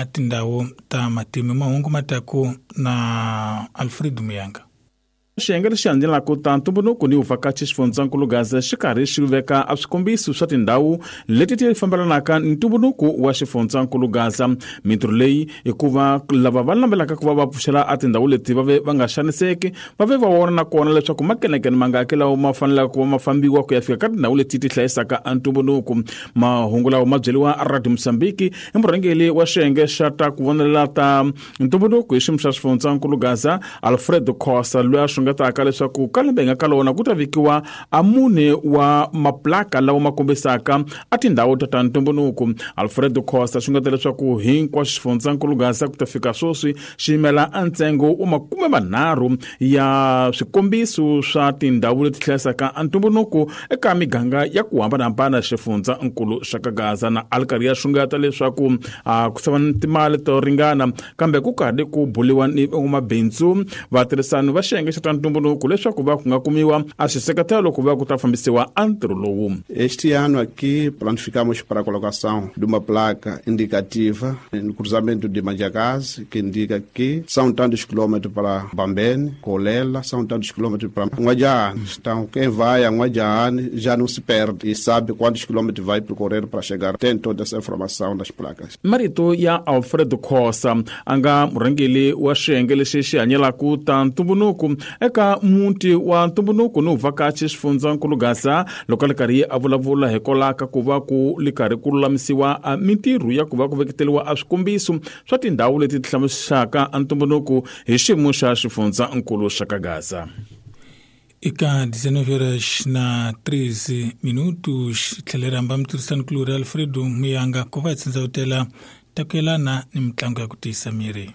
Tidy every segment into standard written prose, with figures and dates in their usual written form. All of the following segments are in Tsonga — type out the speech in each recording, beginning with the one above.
Tindhawu ta matimu mahungu mataku na Alfred Muyanga. Xiyenge lexi landzelaka ta ntumbuluko ni vuvhakachi xifundzankulu Gaza xi karhi xi veka a swikombiso swa tindhawu leti ti fambelanaka ni ntumbuluko wa xifundzankulu Gaza. Mintirho leyi i ku va lava va navelaka ku va va pfuxela a tindhawu leti va ve va nga xaniseki, va ve va vona na kona leswaku makenekene mangaki lawa ma fanelaka ku va ma fambiwa ku ya fika ka tindhawu leti ti hlayisaka a ntumbuluko. Mahungu lawa ma byeriwa Radio Mozambique i murhangeri wa xiyenge xa ta ku vonelela ta ntumbuluko hi xiyimo xa xifundzankulu Gaza, Alfredo Khosa, loyi a xungetaka leswaku ka lembe hi nga ka lona ku ta vekiwa a mune wa maplaka lawa ma kombisaka a tindhawu ta ta ntumbuluko. Alfredo Khosa xungeta leswaku hinkwaswo xifundzankulu Gaza ku ta fika sweswi xi yimela a ntsengo wa 30 ya swikombiso swa tindhawu leti hlayisaka a ntumbuluko eka miganga ya ku hambanahambana xifundzankulu xa ka Gaza. Na a ri karhi ya xungeta leswaku ku sava ni timali to ringana, kambe ku karhi ku buliwa ni van'wamabindzu vatirhisani va xiyenge xa ta ntumbuluko leswaku va ku nga kumiwa a xiseketelo ku va ku ta fambisiwa a ntirho lowu. Este ano aqui planificamos para a colocação de uma placa indicativa no cruzamento de Manjacaze, que indica que são tantos quilômetros para Bambene, Colela, são tantos quilômetros para N'Guadjane. Então, quem vai a N'Guadjane já não se perde e sabe quantos quilômetros vai percorrer para chegar. Tem toda essa informação nas placas. Marito ya Alfredo Khosa a nga murhangeri wa xiyenge lexi xi hanyelaka ta ntumbuluko eka muti wa ntumbuluko ni vuvhakachi xifundzankulu Gaza, loko a ri karhi a vulavula hikwalaho ka ku va ku ri karhi ku lulamisiwa mintirho ya ku va ku veketeriwa a swikombiso swa tindhawu leti ti hlamusaka ntumbuluko hi xiyimo xa xifundzankulu xa ka Gaza. Eka 19 horas na 13 minutos tlhela rhamba mutirhisanikulorhi Alfredo Muyanga ku va hi tsindzawutela ta ku yelana ni mitlangu ya ku tiyisa miri.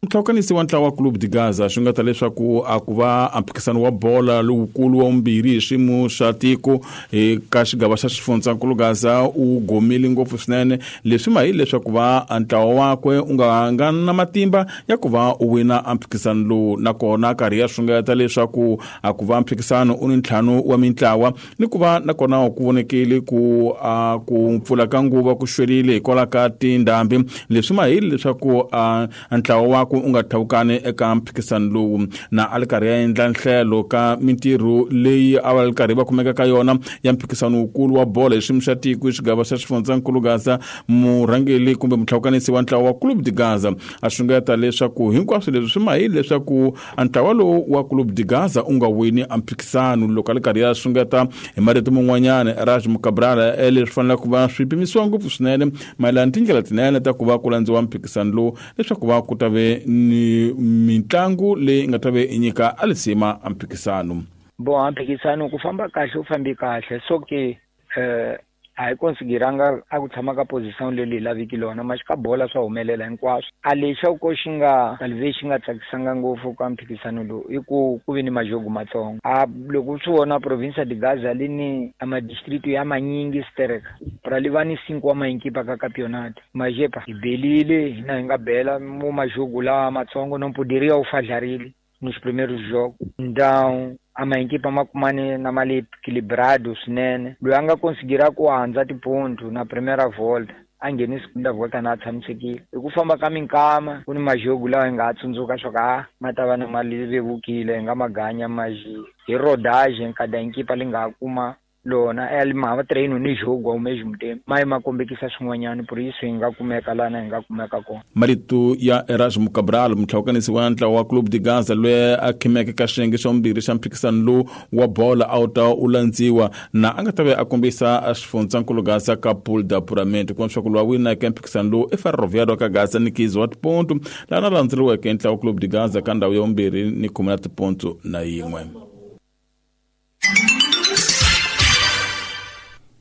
Ntlhokanisi wa ntlawa wa Clube de Gaza swi nga ta leswaku a ku va a mphikizano wa bola lowukulu wa vumbirhi hi xiyimo xa tiko eka xigava xa xifundzankulu Gaza u gomile ngopfu swinene. Leswi ma hi leswaku va ntlawa wakwe u nga nga na matimba ya ku va u wina a mphikizano lowu, nakona karhi ya xungeta leswaku a ku va mphikizano u ni ntlhanu wa mintlawa ni ku va nakona ku vonekile ku a ku pfula ka nguva ku xwerile hikwalaho ka tindhambi. Leswi ma hi leswaku a ntlawa wakwe u nga tlhavukani eka mphikizano lowu. Na a ri karhi ya endla nhlelo ka mintirho leyi a va ri karhi va kumeka ka yona ya mphikizano wukulu wa bolo hi xiyimo xa tiko hi xigava xa xifundzankulu Gaza, murhangeri kumbe mutlhavukanisi wa ntlawa wa Clube de Gaza a xungeta leswaku hinkwaswo leswi swi ma hi leswaku ntlawa lowu wa Clube de Gaza u nga wini a mphikizano. Loko a ri karhi ya xungeta hi marito man'wanyana Raj Mukabrala leswi faneleke ku va swi pimisiwa ngopfu swinene mayelana tindlela tinene ta ku va ku landziwa mphikizano lowu leswaku va ku ta ve ni mitlangu leyi nga ta ve i nyika a lisima a mphikizano. Bon, a mphikizano ku famba kahle u fambi kahle, so ke a hi konsideranga a ku tshama ka position leyi laviki lona, maxi ka bola swa humelela hinkwaswo. A lexi ko xi nga talve xi nga tsakisanga ngopfu ka mphikizano lowu i ku ku ve ni majogo matsongo. A loko swi vona province de Gaza li ni a madistrict ya manyingi stereka pra li va ni 5 wa mainkipa ka campeonato. Majepa hi belile hina hi nga bela mo majogo lawa matsongo no poderia u fadlarile nos primeiros jogos. Então a ma-equipa ma kumane na mali equilibrado swinene. Loyi a nga konsigira ku handza tiponto na primeira volta a ngheni segunda volta na a tshamisekile. Hi ku famba ka minkama ku ni majogo lawa hi nga ha tsundzuka swa ku a ma ta va na mali vevukile hi nga maganya maji hi rodage nkada equipa li nga ha kuma lona e ma va treino ni jogo ao mesmo tempo, mas ma kombekisa swin'wanyana por isso hi nga kumeka lana hi nga kumeka kona. Marito ya Erasmo Cabral, mutlhavukanisi wa ntlawa wa Clube de Gaza loyi a khimeke ka xiyenge xa vumbirhi xa mphikizano lowu wa bola a wu ta u landziwa na a nga ta ve a kombisa xifundzankulu Gaza ka pool d'apuramento ku leswaku loyi a wineke mphikizano lowu i Ferroviário ka Gaza ni 15 wa tiponto, laha na landzeriweke ntlawa wa Clube de Gaza ka ndhawu ya vumbirhi ni 10 na tiponto na yin'we.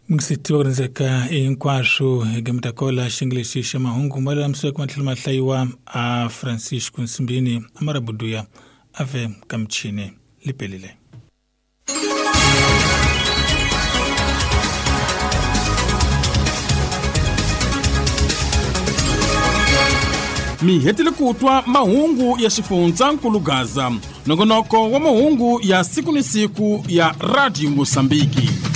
Mungiseti wa ku hinkwaswo hi gamitakola xingelexi xa mahungu ma lulamisiweke matlhelo ma hlayiwa a Francisco Nsimbini a marabuduya a ve ka michini lipelile. Mi hetile ku twa mahungu ya xifundzankulu Gaza, nongonoko wa mahungu ya siku ni siku ya Radio Mozambique.